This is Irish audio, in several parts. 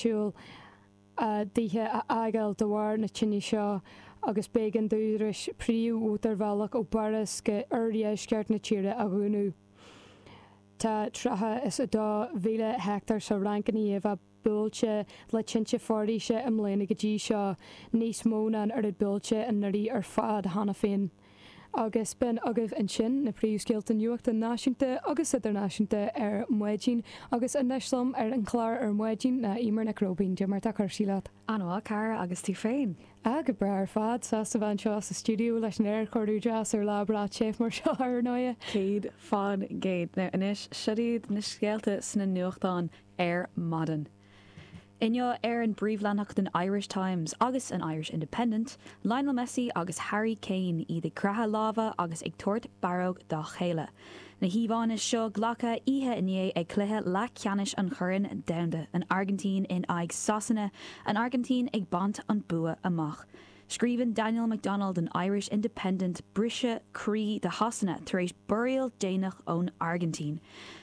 áitiúil a dtithe a fhágáil de bharr na tine seo agus b'éigean d'údaráis príomh-mhótarbhealach ó bPáras go oirdheisceart na tíre a dhúnadh. Tá 32,000 heicteár sa Fhrainc ina dhiaidh a bheith buailte le tinte foraoise i mbliana go dtí seo, níos mó ná an oiread buailte anuraidh ar fad cheana féin. Agus b'in agaibh ansin na príomhscéalta nuachta náisiúnta agus idirnáisiúnta ar maidin agus anois liom ar an chlár ar maidin ná Eimear Nic Róibín. Cad é mar tá cúrsaí leat? An-mhaith, a chara, agus tú féin? Ah, go breá ar fad. Sásta bheith anseo sa stiúideo leis an aerchóiriú deas ar lá breá te mar seo, ar ndóighe. 100%. Now anois, siod iad na scéalta sna nuachtáin ar maidin. Inniu ar an bpríomhleathanach den Irish Times agus an Irish Independent, Lionel Messi agus Harry Kane, iad ag croitheadh lámha agus ag tabhairt barróg dá chéile. Na híomhánna seo glactha oíche inné ag cluiche leathcheannais an Choirn Domhanda, an Airgintín in aghaidh Sasana, an Airgintín ag baint an bua amach. Scríobhann Daniel McDonnell don Irish Independent, Briseadh croí do Shasana tar éis borraíl déanach ón Airgintín.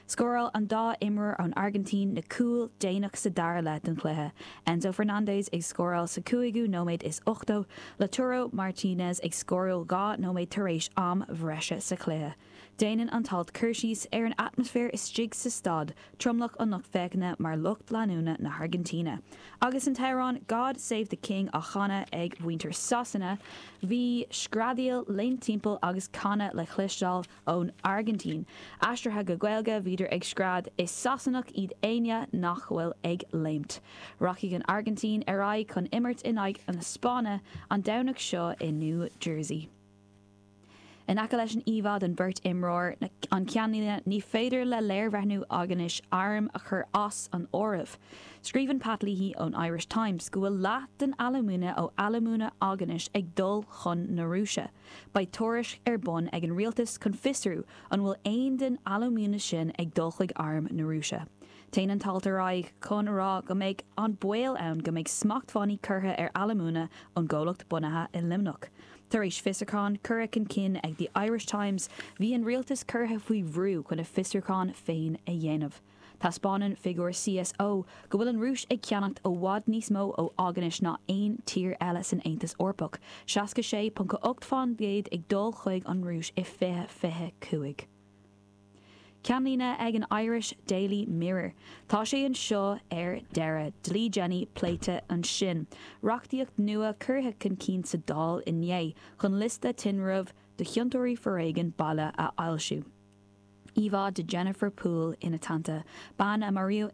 Scóráil an dá imreoir ón Airgintín na cúil déanach sa dara leath den chluiche, Enzo Fernandez ag scóráil sa cúigiú nóiméad is 80, Lautaro Martinez ag scóráil 2 nóiméad tar éis am bhreise sa chluiche. Déanann an t-alt cur síos ar an atmaisféar istigh sa staid, tromlach an lucht féachana mar lucht leanúna na hAirgintíne. Agus an t-amhrán 'God Save the King' á chanadh ag mhuintir Sasana, bhí screadaíl, léimt timpeall agus canadh le cloisteáil ón Airgintín. Aistrithe go Gaeilge, bhíodar ag scread 'Is Sasanach iad éinne nach bhfuil ag léimt'. Rachaidh an Airgintín ar aghaidh chun imirt in aghaidh na Spáinne an Domhnach seo i New Jersey. In aice leis an íomhá den bheirt imreoir, an ceannlíne 'Ní féidir le léirbhreathnú Aughinish airm a chur as an áireamh'. Scríobhann Pat Leahy ón Irish Times go bhfuil leath den alúmana ó Alúmana Aughinish ag dul chun na Rúise. Beidh tuairisc ar bun ag an rialtas chun fiosrú an bhfuil aon den alúmana sin ag dul chuig arm na Rúise. Téann an t-alt ar aghaidh chun a rá go mbeidh an baol ann go mbeidh smachtbhannaí curtha ar alúmana ón gcomhlacht bunaithe i Luimneach. Tar éis fiosrúchán curtha chun cinn ag The Irish Times, bhí an rialtas curtha faoi bhrú chun a fiosrúchán féin a dhéanamh. Taispeánann figiúir CSO go bhfuil an Rúis ag ceannacht i bhfad níos mó ó Aughinish ná aon tír eile san Aontas Eorpach, 66.8% ag dul chuig an Rúis i 2025. Ceannlíne ag an Irish Daily Mirror, Tá sé anseo ar deireadh, Dlí Jenny pléite ansin. Reachtaíocht nua curtha chun cinn sa Dáil inné chun liosta tinrimh do chiontóirí foréigin baile a fhoilsiú. Íomhá de Jennifer Poole ina teannta, bean a maraíodh.